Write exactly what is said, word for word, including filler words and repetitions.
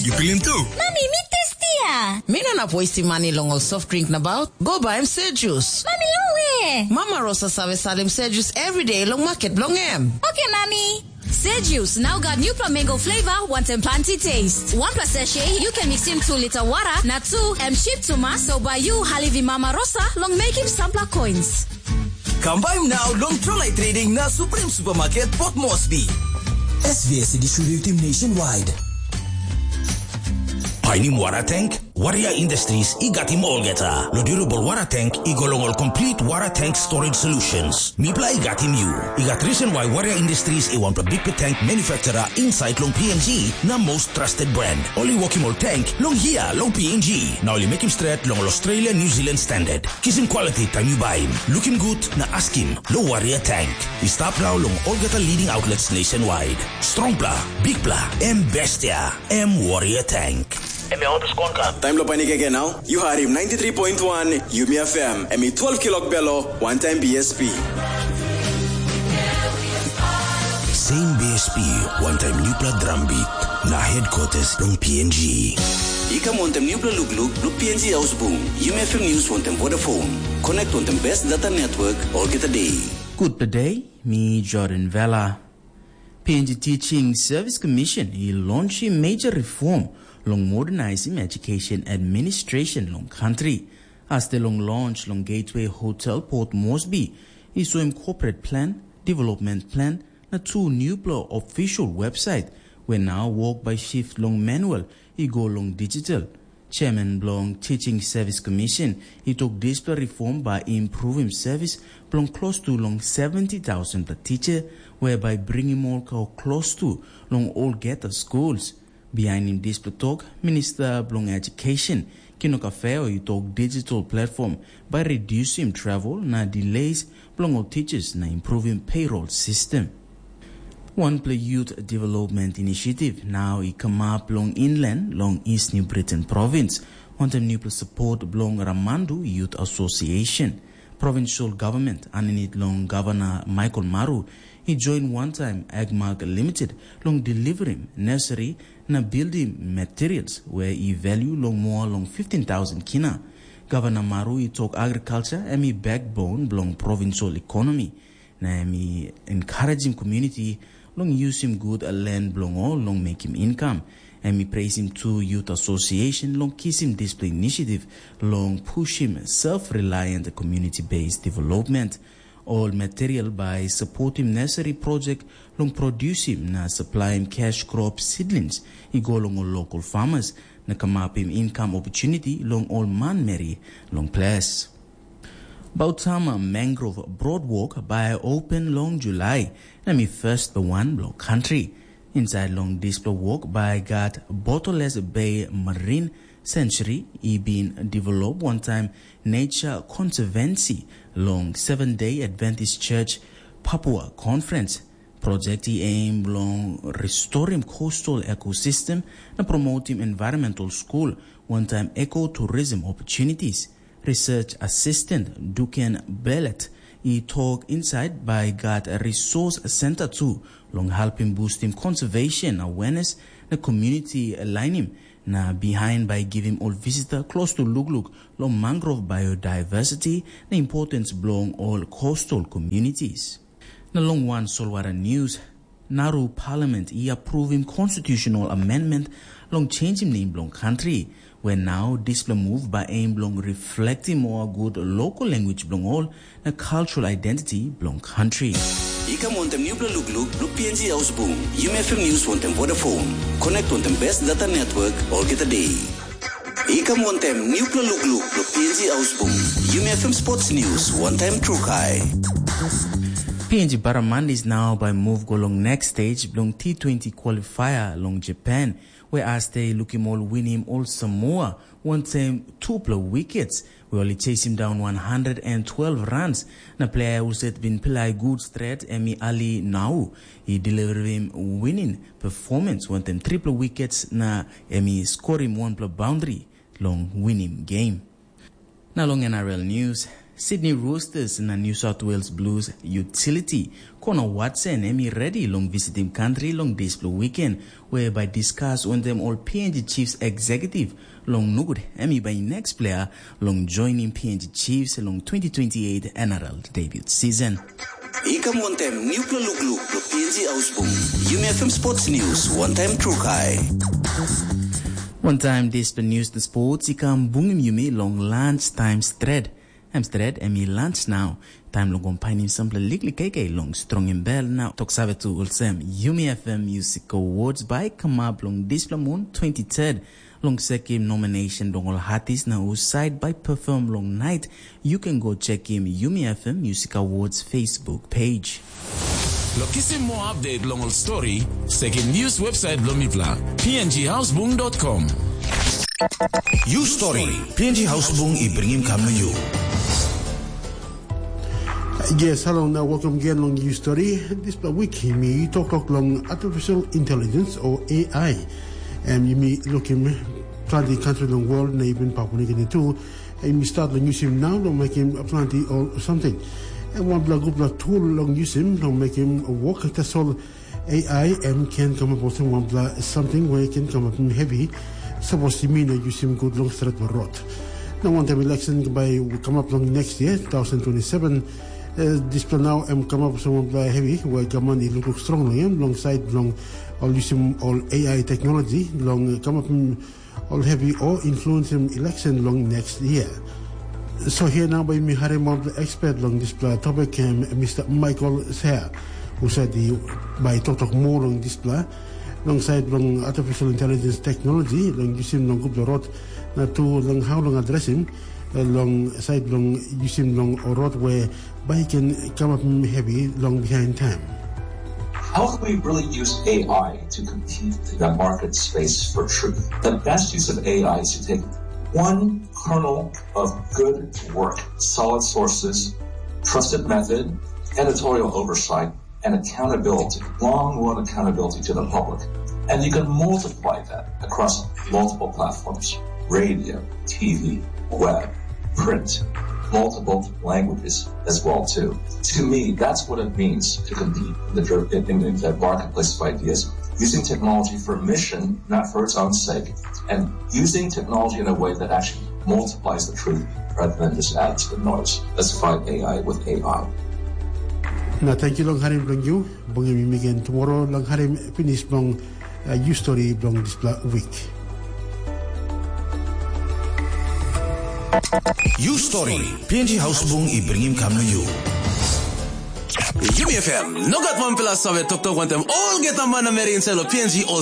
Yu pilim tu? Mami, mi testia. Mi no inap wastim mani long ol soft drink nabaut. Go baim Sejus. Mami, long we? Mama Rosa save salim Sejus everyday long maket bilong em. Oke, Mami. Sejus, nau gat nupla mango flavor, wantaim planti taste. Wanpla sachet, yu ken mixim tu lita wara, na tu, em cheap tumas, so bai yu halivi Mama Rosa long mekim sampla coins. Kam baim nau long Trolai Trading na Supreme Supermarket Port Moresby. S V S i distributim nationwide. Painim wara tank? Warrior Industries i gatim olgeta. Lo durable wara tank i go long ol complete wara tank storage solutions. Mipla i gatim yu. I gat reason why Warrior Industries i wanpela bikpela tank manufacturer inside long P N G na most trusted brand. Ol i wokim ol tank long hia long P N G. Na ol i mekim stret long ol Australia New Zealand standard. Kisim quality taim yu baim. Lukim gut na askim lo Warrior Tank. I stap nau long olgeta leading outlets nationwide. Strongpla, bikpla, em bestia, em Warrior Tank. Em ya oto skon kan. Taim lo painik egen nau, yu harim ninety three point one Yumi F M, em i twelve kilok belo, one time B S P. Same B S P, one time nupla drum beat, na headquarters long P N G. I kam wantem nupla lukluk lo P N G Ausbung, Yumi F M News wantem Vodafone. Connect wantem best data network olgeta day. Good day, mi Jordan Vela. P N G Teaching Service Commission i launchim major reform long modernizing education administration long country. As de long launch long Gateway Hotel Port Moresby, i soim corporate plan, development plan, na tu nupla official website, where now work by shift long manual i go long digital. Chairman bilong Teaching Service Commission i tok dispela reform bai i impruvim service bilong klostu long seventy thousand pla teacher, whereby bringim ol go klostu long olgeta schools. Bihainim dispela tok, Minista bilong Education, Kino Kafeo, i tok digital platform bai redusim travel na delays bilong ol teachers na impruvim payroll system. Wanpela youth development initiative nau i kamap long inland long East New Britain Province, wantaim nupela support bilong Ramandu Youth Association. Provincial government aninit long Governor Michael Maru i join wantaim Agmark Limited long deliverim nursery na building materials, where i value long more long fifteen thousand kina. Governor Maru i tok agriculture em i backbone bilong provincial economy, na em i encouragim community long yusim gut land bilong ol long mekim income. Em i presim tu Youth Association long kisim dispela initiative long pushim self-reliant community-based development. Ol material bai supportim nursery project long produsim na supplyim cash crop seedlings i go long ol local farmers na kamapim income opportunity long ol manmeri long ples. Bautama Mangrove Broadwalk bai open long July, na mi first wan bilong country. Inside long dispela walk bai gat Bottles Bay Marine Sanctuary i bin develop wantaim Nature Conservancy long Seventh Day Adventist Church Papua Conference. Project i aim long restorim coastal ecosystem na promotim environmental school wantaim ecotourism opportunities. Research Assistant Duken Belet i tok inside bai gat resource center tu long helpim boostim conservation awareness na community alignim, na behind bai givim ol visitor klostu lukluk long mangrove biodiversity na importance bilong ol coastal communities. Na long wan solwara news, Nauru Parliament i approvim constitutional amendment long changim nem bilong country, where now dispela move by aim bilong reflecting more good local language bilong all na cultural identity bilong country. I kam wantem newpela lukluk bilong P N G Ausbung, Yumi F M News wantem Vodafone. Connect wantem best data network olgeta day. I kam wantem newpela lukluk bilong P N G Ausbung, Yumi F M Sports News wantem Trukai. P N G Barramundi is now by move go long next stage bilong T twenty qualifier long Japan, where as they lukim all winim all Samoa wantem tupela wickets, we ol i chesim daun one hundred and twelve runs, na player husat bin pilai gut stret em i Ali Nau, i deliverim winning performance wantem tripela wickets na em i skorim wanpela boundary long winim game. Na long N R L news, Sydney Roosters na New South Wales Blues utility Connor Watson em i redi long visitim kantri long dispela weekend, whereby discuss wantaim ol P N G Chiefs executive long nugut em i bai next player long joining P N G Chiefs long twenty twenty-eight N R L debut season. I kam wantaim nupela lukluk lo P N G Ausbung. Yumi F M Sports News, wantaim Trukai. Wantaim dispela news na sports i kam bungim yumi long lunch time stret. Em stret em i lunch now. Taim long kompainim sampela liklik kaikai long strongim bel na tok save tu olsem Yumi F M Music Awards bai kamap long dispela mun twenty-third. Long sekim nomination long ol artist na husat bai perform long night, you can go check him Yumi F M Music Awards Facebook page. Lo kisim moa update long ol story, sekim news website bilong mipela, P N G housebung dot com. You story, P N G housebung i bringim kam na you. Yes, hello, now welcome again long you story. This week, mi talk talk long artificial intelligence or A I. And you may look him plenty country long world, na even Papua New Guinea too. And you start long use him now, long make him plenty or something. And one bla group la tool long use him, long make him work. That's all. A I em ken kamap olsem wanpela samting we ken kamapim hevi, sapos yumi no yusim gut long stretpela rot. Na wantaim election bai kamap long next year, two thousand twenty-seven, eh, dispela nau em kamap olsem wanpela hevi we gavman i lukluk strong long em long sait bilong ol yusim ol A I teknologi long kamapim ol hevi o influensim election long next year. So here now bai mi harim ol expert long dispela topic em Mister Michael Sea, husat i bai toktok moa long dispela long sait bilong artificial intelligence technology long yusim long gutpela rot, na tu long how long adresim long sait bilong yusim long rot we bai i ken kamapim hevi long bihain taim. How can we really use A I to compete in the market space for truth? The best use of A I is to take one kernel of good work, solid sources, trusted method, editorial oversight, and accountability, long run accountability to the public. And you can multiply that across multiple platforms, radio, T V, web, print, multiple languages as well too. To me, that's what it means to compete in the, in, in the marketplace of ideas, using technology for a mission, not for its own sake, and using technology in a way that actually multiplies the truth rather than just adds to the noise. Let's fight A I with A I. Na thank you long harim bilong you. Bungim mi again tomorrow long harim finish bilong uh, you story bilong dispela week. You story, P N G Housebung i bringim kam na you. Yumi F M, no gat wanpela save toktok wantaim olgeta manameri inside lo P N G ol